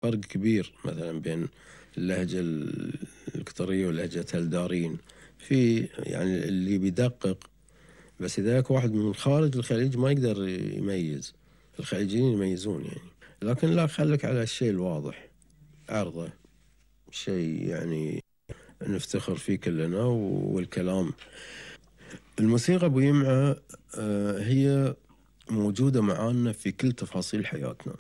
فرق كبير مثلا بين اللهجة القطرية ولهجة الدارين. في يعني اللي بيدقق، بس إذا اكو واحد من خارج الخليج ما يقدر يميز. الخليجيين يميزون يعني. لكن لا، خليك على الشيء الواضح، عرضه شيء يعني نفتخر فيه كلنا. والكلام، الموسيقى ابو يمعة هي موجودة معانا في كل تفاصيل حياتنا.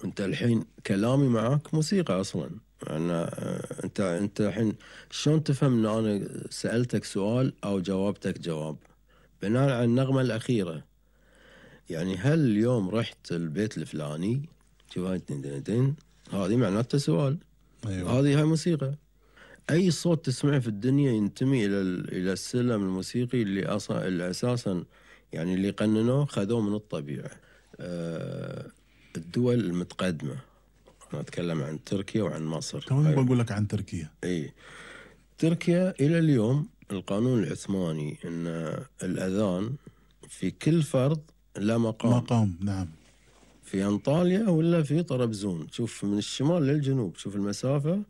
انت الحين كلامي معاك موسيقى اصلا. انت الحين شلون تفهم ان انا سألتك سؤال او جاوبتك جواب بناء على النغمة الاخيرة؟ يعني هل اليوم رحت البيت الفلاني، شوف هاي هذه معناته سؤال. أيوة. هاي موسيقى. اي صوت تسمعه في الدنيا ينتمي الى السلم الموسيقي اللي اساسا يعني اللي قننوه خذوه من الطبيعة. الدول المتقدمة، أنا أتكلم عن تركيا وعن مصر. كمان بقول لك عن تركيا. إيه، تركيا إلى اليوم القانون العثماني أن الأذان في كل فرد له مقام. نعم. في أنطاليا ولا في طرابزون، شوف من الشمال للجنوب، شوف المسافة.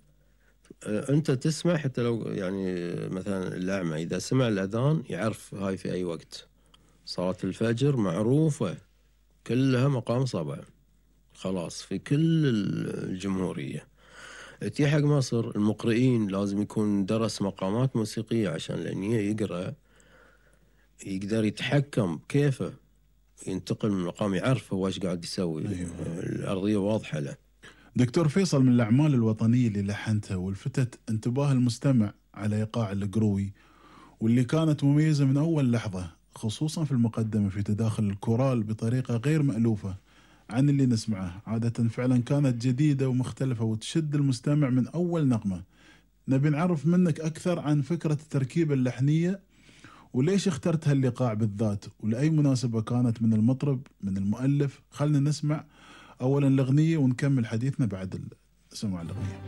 أنت تسمع حتى لو يعني مثلا الأعمى إذا سمع الأذان يعرف هاي في أي وقت. صلاة الفجر معروفة كلها مقام صبع، خلاص في كل الجمهورية. تي حق مصر المقرئين لازم يكون درس مقامات موسيقية عشان لأن يقرأ يقدر يتحكم كيفه ينتقل من مقام، يعرف هو ايش قاعد يسوي. أيوة. الأرضية واضحة له. دكتور فيصل، من الأعمال الوطنية اللي لحنتها والفتت انتباه المستمع على إيقاع القروي، واللي كانت مميزة من أول لحظة، خصوصا في المقدمة في تداخل الكورال بطريقة غير مألوفة عن اللي نسمعه عادة. فعلا كانت جديدة ومختلفة وتشد المستمع من أول نغمة. نبي نعرف منك أكثر عن فكرة التركيبة اللحنية، وليش اخترت هالإيقاع بالذات، ولأي مناسبة كانت، من المطرب، من المؤلف. خلنا نسمع أولا الأغنية ونكمل حديثنا بعد سماع الأغنية.